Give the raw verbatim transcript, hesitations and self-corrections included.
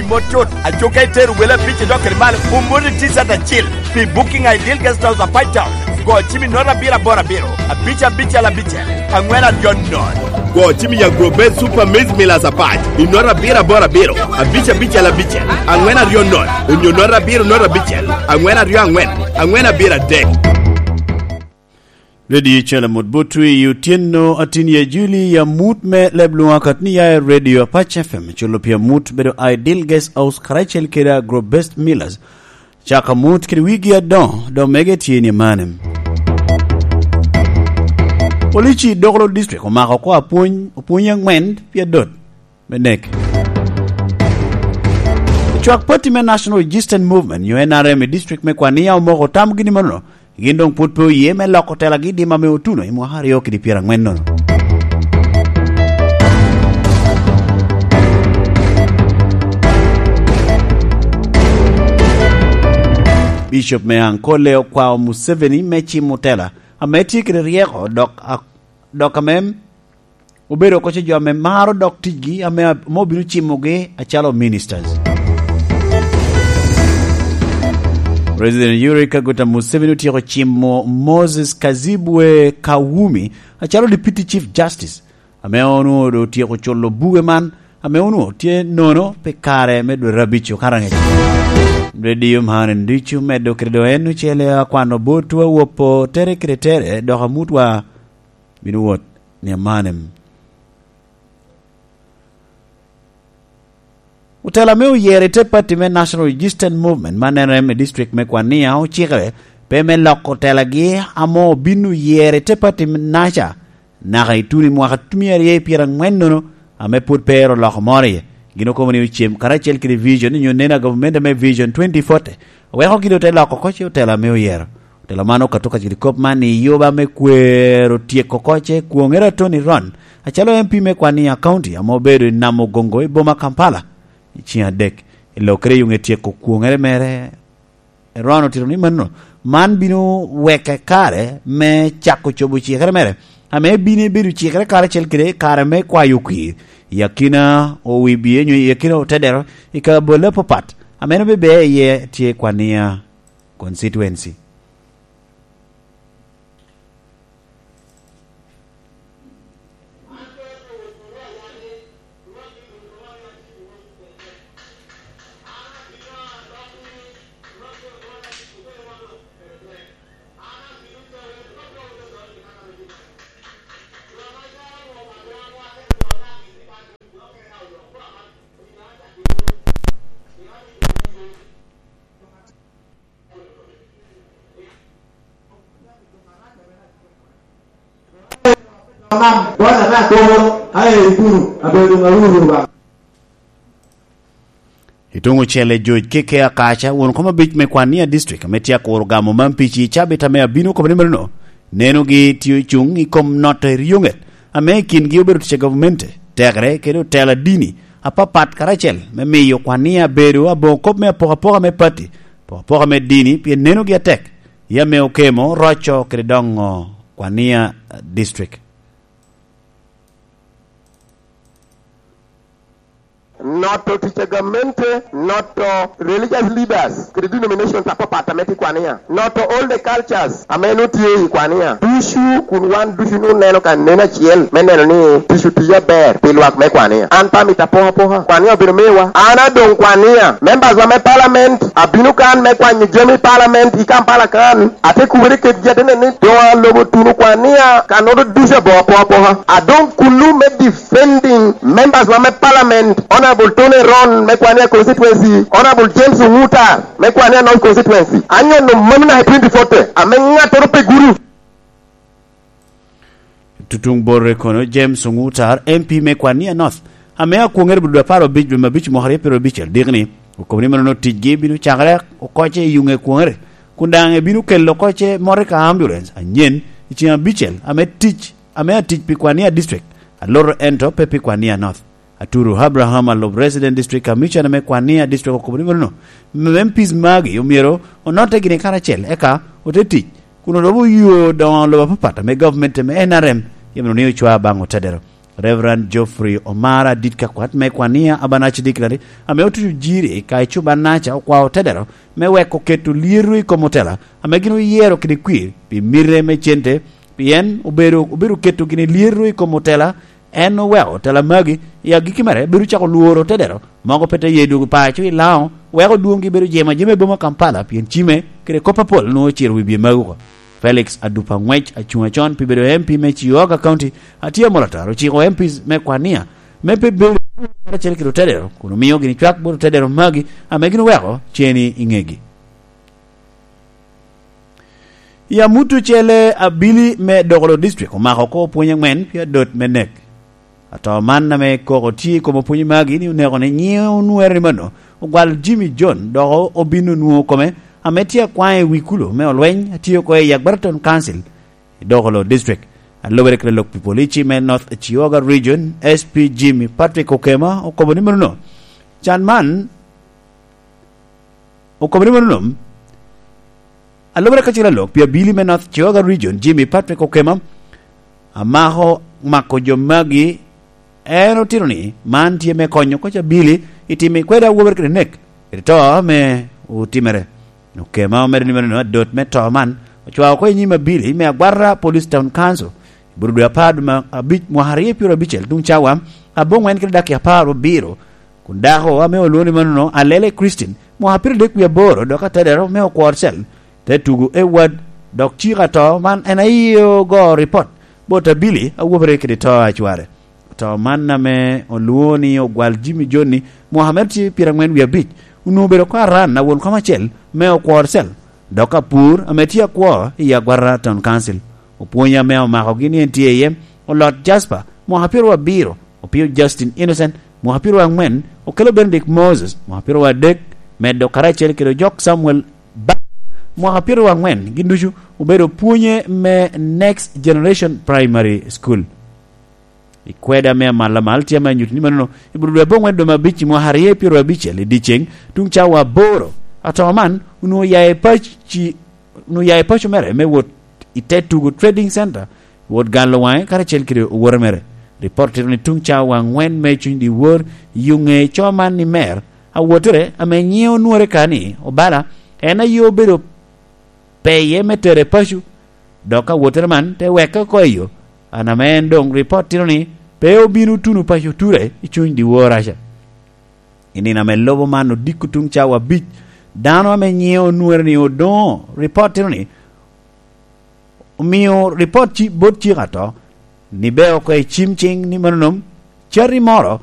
Mot cut, aco ka itero wele abic idok kede malo, omoni T-shirt acil pi Booking Ideal Guest House Apac Town. Go cim i note abiro aboro abiro, abic abicel abicel, angwen aryo note. Go cim i Agro Best Super Maize Millers Apac i note abiro aboro abiro, abic abicel abicel, angwen aryo note, onyo note abiro note abicel, angwen aryo angwen, angwen abiro adek. Radio Calamot Botwi i otyeno atin ya Juli, ya mut me leb lwak atni ya i Radio Apac F M, culo pi amut bedo Ideal Guest House karacel kede Agro Best Millers. Caka mut kede wigi adoŋo, dok mege tye ni mane. Polici i Dokolo District omako oko apwony, opwony angwen pi adot me nek. Ocwak pati me National Resistance Movement, nyo N R M, i district me Kwania omoko tamgi ni mano, gin doŋ pwod pe oye me loko telagi i dim ame otuno i mwaka aryo kede pyerangwen nono. Bishop me Ankole okwao Museveni me cimo tela ame tye kede ryeko, dok a-, dok ame obedo oko ce jo ame maro dok ticgi ame, ame obino cimogi acalo ministers. President Yoweri Kaguta Museveni otyeko cimo Moses Kazibwe Kawumi acalo Deputy Chief Justice, ame onwoŋo doŋ otyeko culo buge man, ame onwoŋo tye nono pi kare me dwe abic okato angec. Radio man ducu medde kede doŋ en ocele akwano botwa wopo tere kede tere, dok amutwa bino wot ni amanem. Otela me oyero i te pati me National Resistance Movement, ma N R M, i district me Kwania ocikere pe me loko telagi ame obin oyero i te pati me naca naka i tuno i mwaka tumia aryo i pyerangwen nono, ame pwod pe ero loko moro iye. Gin okobo ni ocem karacel kede Vision, nyo neno a gavumenti me Vision twenty forty, weko gin ote loko oko ce otela me oyero. Otela man okato ka kede kop man i yuba me kwero tyeko oko ce kwoŋere a Tony Ron, acalo M P me Kwania County, ame obedo i Namugongo i boma Kampala i ceng adek. I lokere i yuŋe tyeko kwoŋere mere, Ron otito ni mano, man bino weke kare me cako cobo cikere mere, ame bino bedo cikere karacel kede kare me kwayo kwir i akina Owibie, nyo i akina Otedero, i kabedo apapat, ame en obedo iye tye Kwania constituency. I tuŋ ocele, George K K Akaca, won kom abic me Kwania District, ame tye akuro gamo man pi ci cabit ame abino, okobo ni meno nenogi tye ocuŋ i kom noto i ryoŋet, ame i kingi obedo tic a gavumenti, tekere kede otela dini apapat karacel me miyo Kwania bedo aboŋo kop me apokapoka me pati, apokapoka me dini, pien nenogi atek, i ame okemo roco kede doŋo Kwania District. Noto tic a gamente, noto religious leaders, kede denominations apapat ame tye i Kwania. Noto all the cultures ame nwoŋo tye i Kwania. Ducu kun wan ducu nwoŋo neno ka neno acel me neno ni tic otiye aber pi lwak me Kwania. An pe amito apoka apoka. Kwania obino miwa. An adoŋ Kwania. Members wa me parliament abino kan me kwanyo jami parliament i Kampala kan. Ate kubere kedgi, ate neno ni doŋ alobo tuno Kwania ka noto ducu aboŋo apoka apoka. Adoŋ kulu me defending members wa me parliament, Honorable Tony Ron me Kwania constituency, Honorable James Onguta me Kwania North constituency. Anyono mano naka i twenty forty, ame ŋattoro pe gudo. Tutuŋ borre kono, James Ongutar, M P me Kwania North, ame akwoŋere bulu apar obic dwe me abic mwaka aryo pyero abicel, dikni, okobo ni mano ticgi bino cakere oko ce i yuŋe kwoŋere, kun daŋ ebino kelo oko ce motoka ambulance anyen i ceŋ abicel ame tic, ame atic pi Kwania District, aloto ento pe pi Kwania North. Aturu Abraham, alub Resident District Commissioner me Kwania District, okobo ni mano, M Ps magi omyero onotte gini karacel, eka ote tic, kun odobo yo doŋo lobo apapat ame gavumenti me N R M yam ni ocwa baŋ otedero. Reverend Geoffrey Omara, adit ka kwat me Kwania Abanachi Dictionary, ame otuco jiri ka ecuban-naca, okwao tedero me weko keto lyeto i kom otela ame gin oyero kede kwir pi mite me cente, pien obedo, obedo keto gini lyeto i kom otela. En oweko otela magi i agikki mere bedo cako lworo tedero mogo pe te ye dwogo paco i Laŋo, weko dwoŋgi bedo jemo ajema i boma Kampala, pien cime kede kop apol nwoŋo ociro wi bye magi oko. Felix Adupa Ngwec, acuŋ acon pi bedo M P me Chiyoga County, atye amol atara, ociko M Ps me Kwania me pe bedo karacel kede otedero, kun omio gini cwak bot otedero magi ame gin oweko ceni i ŋegi. I amut ocele, abili me Dokolo District omako oko opwony ang'wen pi adot me nek. Ato man ame koko tye i kom opwony magi ni oneko ni nyiŋe onwere ni mano, ogwal Jimmy John, dok obin onwoŋo kome ame tye akwaŋ i wi kulo me olweny atye oko i Agbarton Council i Dokolo District. Alobere kede lok pi polici me North Chiyoga Region, S P Jimmy Patrick Okema, okobo ni mano. Can man okobo ni mano, alobere kacel alok pi abili me North Chiyoga Region, Jimmy Patrick Okema, amako mako jo magi. En otito ni man tye me konyo koc abili i timo i kwede awobe kede nek, kede to ame otimere. Okema omedo ni mano adot me to man ocwao oko i nyim abili me Agwara Police Town Council i Burudu apar dwe ma abic mwaka aryo pyero abicel tuŋ cawa aboŋwen kede dakika apar abiro, kun dako ame olwoŋo ni manono Alele Christine, mwaka pyero adek wie aboro, dok atedero me Okwor Cell, te tugo Edward, dok cik ato man en aye ogo ripot bot abili awobere kede to a cware. To man ame olwoŋo ni ogwal Jimmy Johnny, mwaka mere tye pyerang'wen wie abic, onwoŋo obedo oko aran a won kom acel me Okwor Cell, dok apur ame tye akwo i Agwara Town Council. Opwony ame omakogi ni en tye iye, Olot Jasper, mwaka pyeraryo abiro, Opio Justin Innocent, mwaka pyeraryo ang'wen, Okelo Benedict Moses, mwaka pyeraryo adek, medo karacel kede Ojok Samuel Baka, mwaka pyeraryo ang'wen, gin ducu obedo pwonye me Next Generation Primary School. I kweda me amalamal tye ame anyuto ni manono, i Burudu aboŋwen dwe me abic i mwaka aryo pyeraryo abicel i dyeceŋ, tuŋ cawa aboro, ato man onwoŋo oya i paci, onwoŋo oya i paco mere me wot i te tugo Trading Center, wot galo waŋe karacel kede owote mere. Ripot tito ni tuŋ cawa ang'wen me cuny dyewor, i ŋe co man ni mer, awotere ame nyiŋe onwore ka ni Obala, en aye obedo peye me tere paco, dok awotere man te weke oko i yo, an ame en doŋ ripot tito ni pe obino tuno paco ture i cuny dyewor aca. I nino ame lubo man odiko tuŋ cawa abic, dano ame nyiŋe onwore ni Odoŋo, ripot tito ni omio ripot ci-, bot cik ato, ni be oko i cim ciŋ ni manonom, cati moro